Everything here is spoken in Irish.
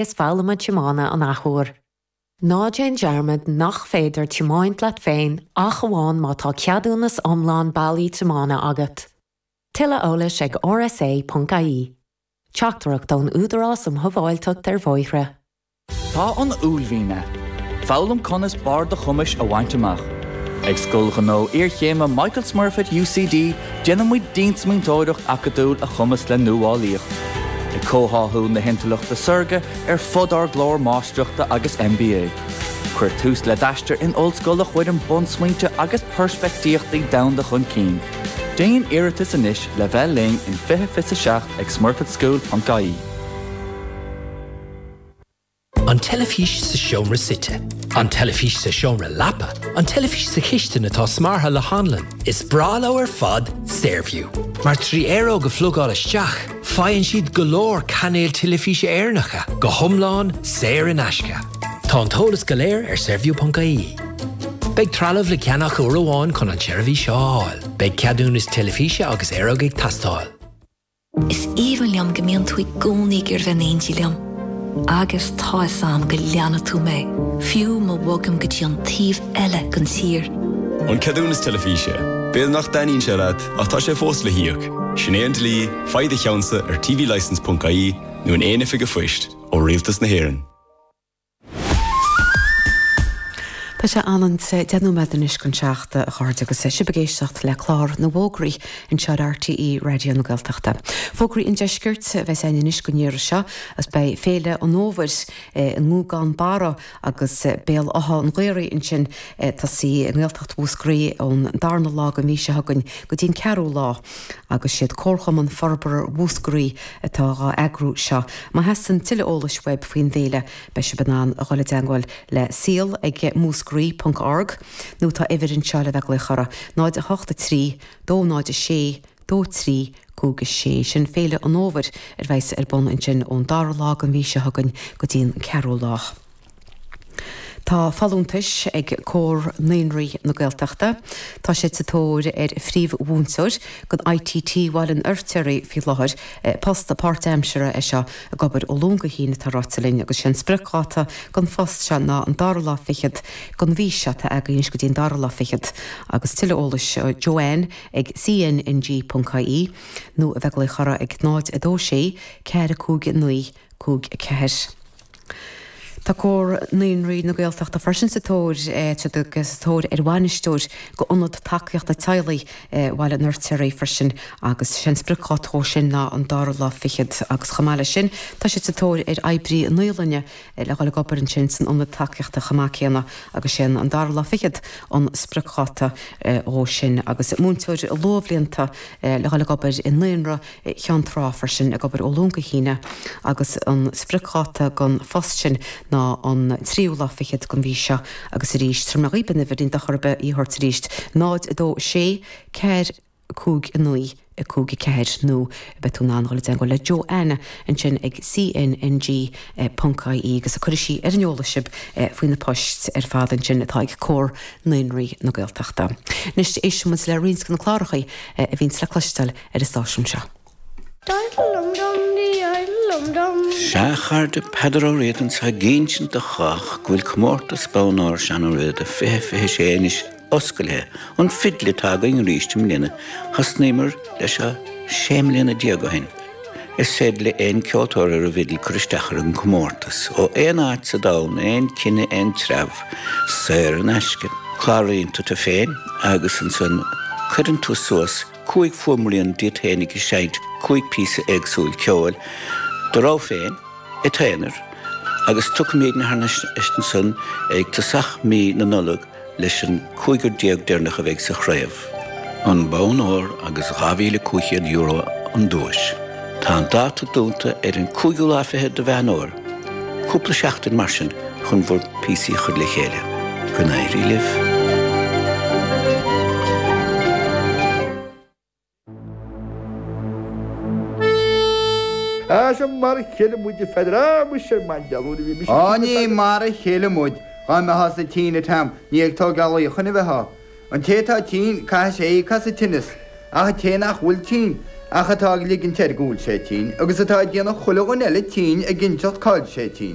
Is foghlama tiomána an athuair. Ná déan dearmad nach féidir tiomáint leat féin ach amháin má tá ceadúnas iomlán bailí tiomána agat. Tuilleadh eolais ag rsa.ie. Teachtaireacht ón Údarás um Shábháilteacht ar Bhóithre. Tá an uaillmhian ann. Foghlaim conas barr do chumais a bhaint amach. Ag Scoil Ghnó Iarchéime Michael Smurfit UCD, déanann muid diansmaointeoireacht acadúil a chumasc le nuálaíocht. Ag comhtháthú na hintleachta saorga ar fud ár gclár Máistreachta agus MBA. Cuir tús le d'aistear in ollscoil a chuireann bunsmaointe agus peirspictíochtaí domhanda chun cinn. Déan iarratas anois le bheith linn in 2027 ag smurfitschool.ie. An teilifís sa seomra suite. An teilifís sa seomra leapa. An teilifís sa chistin atá smeartha le hanlann. Is breá leo ar fad Saorview. Mar 3 aeróg a phlugáil isteach, faigheann siad go leor cainéil teilifíse Éireannacha, go hiomlán saor in aisce. Tá an t-eolas go léir ar saorview.ie. Beidh trealamh le ceannach uair amháin chun an tseirbhís seo a fháil. Beidh ceadúnas teilifíse agus aeróg ag teastáil. Is aoibhinn liom go mbíonn tú i gcónaí ag iarraidh bheith in éindí liom. Agus tá 'fhios a'm go leanfaidh tú mé, fiú má bhogaim go dtí an taobh eile den tír. An ceadúnas teilifíse. B'fhéidir nach dtaitníonn sé leat, ach tá sé fós le híoc. Sin é an dlí, faigh do cheannsa ar tvlicence.ie nó in aon oifig an phoist ó Rialtas na hÉireann. Tá sé anonn 10 nóiméad anois chun 7 a chairde agus sibh ag éisteacht le clár na bhfógraí anseo ar RTÉ Raidió na Gaeltachta. Fógraí an Deiscirt a bheas againn anois don iarraidh seo agus beidh Féile an Fhómhair i nGúgán Barra agus Béal Átha an Ghaorthaidh ansin ag tosaí i nGaeltacht Mhúscraí ón darna lá den mhí seo chugainn go dtí an ceathrú lá agus siad Comharchumann Forbartha Mhúscraí atá dhá eagrú seo. Má theastaíonn tuilleadh eolais uaibh faoin bhféile beidh sibh in ann a dhul i dteangmháil le saol ag múscraí ponc org nó tá uimhir anseo le bheith ag glaoch orthu, 0 8 3 2 0 6 2 3 5 6. Sin Féile an Fhómhair a bheas ar bun ansin ón dara lá den mhí seo chugainn go dtí an ceathrú lá. Tá folúntais ag Comhar Naíonraí na Gaeltachta. Tá siad sa tóir ar phríomh-mhúinteoir don ITT Bhaile an Fheirtéaraigh faoi láthair. Post páirtaimseartha é seo ag obair ó Luan go hAoine atá ráite linn agus sé an spriocdháta don phost seo ná an dara lá fichead den mhí seo atá againn anois go dtí an dara lá fichead agus tuilleadh eolais Joanne ag cnng.ie nó a bheith ag glaoch orthu ag 0 2 6 4 5 9 5 4. Tá Comhar Naíonraí na Gaeltachta freisin sa tóir sa tóir ar bhainisteoir go Ionad Tacaíochta Teaghlaigh Bhaile an Fheirtéaraigh freisin agus sé an spriocdháta dhó sin ná an dara lá fichead agus chomh maith leis sin tá siad sa tóir ar oibrí naíolainne le dhul ag obair ansin san ionad tacaíochta chomh maith céanna agus sé an dara lá fichead an spriocdháta dhó sin agus múinteoir luathbhlianta le dhul ag obair i naíonra Cheann Trá freisin, ag obair ó Luan go hAoine agus an spriocdháta don phost sin ná an tríú lá fichead den mhí seo agus arís, tabharfaidh mé dhaoib an uimhir, níl dochar ar bith í a thabhairt arís, 0 2 6 4 5 9 5 4 nó beidh tú in ann dul i dteagmháil le Joanna ansin ag cnng ponc ie agus cuirfidh sí ar an eolas sibh faoi na poist ar fad ansin atá ag Comhar Naíonraí na Gaeltachta. Anois éistfidh muid le roinnt de na cláracha a bhíonns le cloisteáil ar an stáisiún seo. Sea, a chairde, Peadar Ó Riada anseo ag insint do chách go bhfuil Comórtas Bonn Óir Seán Ó Riada 2026 anois oscailthe. An fidil atá againn arís i mbliana. Thosnaíomar leis seo 16 mbliana ó shin. Is féidir le aon ceoltóir ar an bhfidil cur isteach ar an gcomórtas, ó aon áit sa domhan, aon chine, aon treabh, saor in aisce. Cláraíonn tú tú féin agus ansan cuireann tú suas 5 fuaimrian díot féinig ag seinnt 5 píosa éagsúil ceoil, do rogha féin, i t'aonar, agus tiocfaimídne thar n-ais ansan ag tosach mí na Nollag leis an cúigear deireanach a bheidh sa chraobh. An bonn óir agus €2,500 an duais. Tá an dáta dúnta ar an cúigiú lá fichead de Mheán Fhómhair. Cúpla seachtain mar sin chun bhur bpíosaí a chur le chéile. Go n-éirí libh! Á, sea, mar a chéile muid, a Pheadair, á, muise ar maidin, nuair a bhí mise Á, ní mar a chéile muid, dhá mbeitheása tinn a Tom, ní ag tógáil luíochain a bheitheá. An té atá tinn, caithfidh sé íoc as an tinneas, ach an té nach bhfuil tinn. ach atá ag ligint air go bhfuil sé tinn, agus atá ag déanamh chuile dhuine eile tinn ag inseacht cá bhfuil sé tinn.